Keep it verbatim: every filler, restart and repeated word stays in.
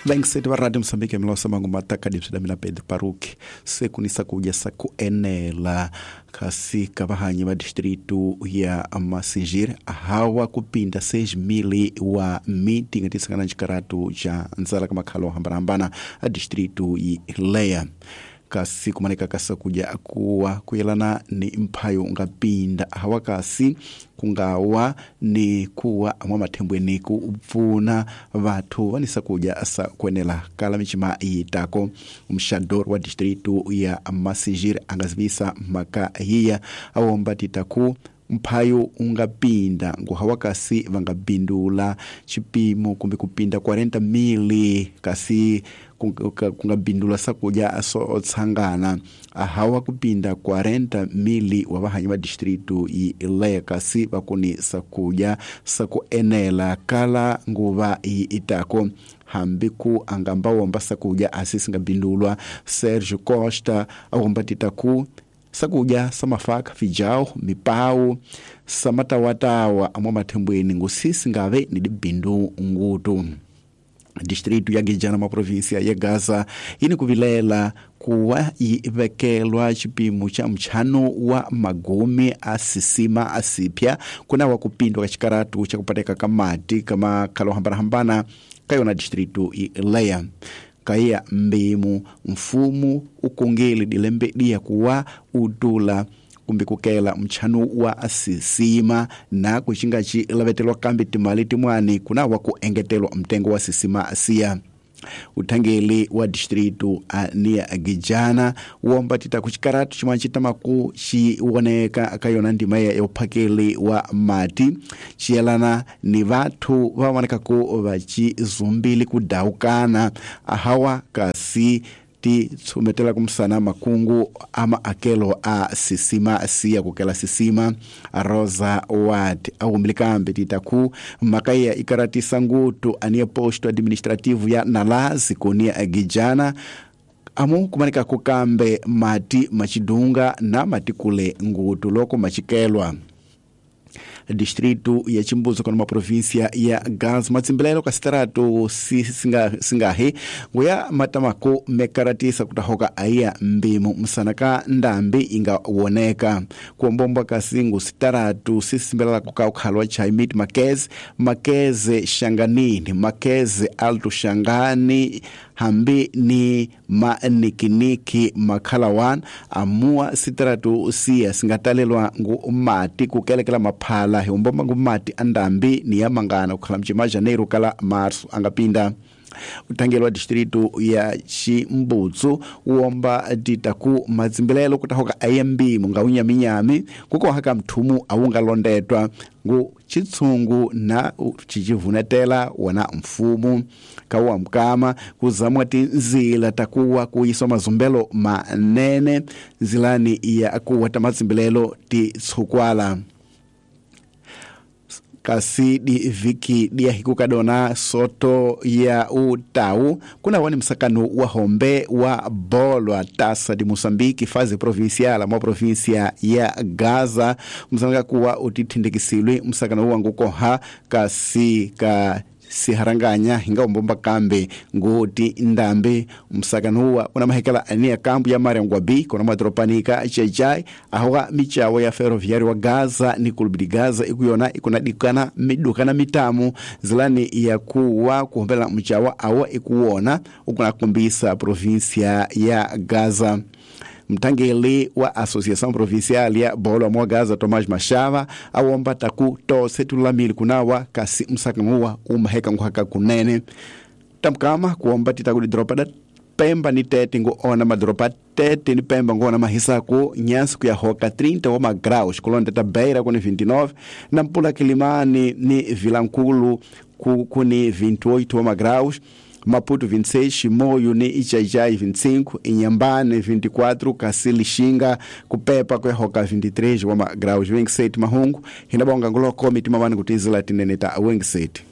Vaingiseti va Radio Mosambiki milosa mangu mataka dipsida mina Pedro Paruki sekunisa kuja sakuenela kasi kavahanyi va distrito ya Massingir hawa kupinda seis mil wa miti ngatisangana xikaratu xa ndzala ka makhalo hambanahambana a distrito yi leya kasi kumaneka kasa kuja kuwa kuyelana ni mphayo ungapinda hawa kasi kungawa ni kuwa mwa mathembweni ku pfuna vathu vanisa kuja sa kuenela kala michima yitako. Mxador wa distrito ya Massingir angazivisa mhaka hiya awomba titaku mphayo ungapinda nguhawa kasi vangabindula chipimo kumbe kupinda quarenta mili kasi kungabindula sakuja so tsangana ahawa kupinda quarenta mili wa vahanyi va distrito yi leya kasi vakuni sakuja sakuenela kala nguva yi itako hambi ku angamba womba sakuja asisi ngabindulwa. Sergio Costa awomba titaku sakuja samafaka fijao mipau samatawatawa amwa mathembweni ngusisi ngave ni dibindu ngutu. Distrito ya Gijana ma província ya Gaza ini kuvilela kuwa ivekelwa chipimo cha mchano wa magumi asisima asipya kuna wa kupindwa kachikaratu cha kupateka kamati kama kalo hambana hambana kayona distrito ileya kaya mbimu mfumu ukongeli dilembe dia kuwa udula kumbi kukela mchano wa asisima na kuchinga chi lavetelwa kambi timali timwani kuna wa kuengetelwa mtengo wa sisima asia. Utangeli wa distrito ania Gijana womba tita kuchikaratu chimwanchita maku chiwoneka akayona ndima ya uphakeli wa mati chiyelana ni vathu vaoneka ku vachizumbili kudaukana ahawa kasi ti tsumetela kumsana makungu ama akelo a sisima siya kukela sisima Rosa Ward awumilikambe titaku makaya ikaratisa ngutu ania posto administrativo ya Nalazi kunia Gijana amu kumanika kukambe mati machidunga na matikule ngutu loko machikelwa. Distrito ya Chimbuzo kwa província ya Gaza matsimbelelo kasitarato si singa singahe nguya matamako mekaratisa kutahoka aya mbimu msanaka ndambi inga woneka kuombomba kasingu sitaratu sisimbelela kukau chaimit Makeze Makeze Shanganini Makeze Alto Shangani hambi ni manikiniki makhalawan amua sitaratu siya singatalelwa ngu mati kukelekela maphala hiumbomba ngu mati andambi ni yamangana kukhala mchima janeiro kala marso angapinda. Utangelo wa distrito ya Chimbutsu uomba ditaku matsimbelelo kutahoka I M B munga unyaminyami kuko haka mthumu awunga londetwa ngu chitsungu na chichivunetela wana mfumu kawa mkama kuzamwa tinzila takuwa kuiswa mazumbelo manene nzilani ya kuwa tamatsimbelelo titsukwala. Kasi di viki dia hikukadona soto ya utau kuna wani msakano wa hombe wa bolwa tasa di Mosambiki fazi provinciala mwa provincia ya Gaza msakano kuwa utithindikisilwe msakano wangu koha kasi ka siharanganya hinga umbomba kambe ngoti ndambe msakano huwa una mahekela ania kambu ya Mariangwa B kuna madropanika chechai ahoga michawo ya ferroviário wa Gaza ni kulubidi Gaza ikuyona ikuna dikana midukana mitamu zilani ya kuwa kuhombela mchawa awa ikuona ukuna kumbisa provincia ya Gaza. Mtangeli wa Associação Provincial ya Bolo mwa Gaza Tomás Machava awomba taku tose tulamili kunawa kasi msakangua umaheka nguhaka kunene tamkama kuomba titakudi dropa da Pemba ni tete ngo ona madropa tete ni Pemba ngo ona mahisaku nyansi kuyahoka trinta wa magraus kulonda tabeira kuni vinte e nove na mpula Kilimani ni Vilankulu kuni vinte e oito wa magraus Maputo vinte e seis, Chimoio ni Ichajai vinte e cinco, Inhambane vinte e quatro, Cacili Xinga, Kupepa kuyahoka vinte e três wa magraus vinte e sete Mahungu, hinabonga nguloko mitima wani kutizila tineneta vinte e sete.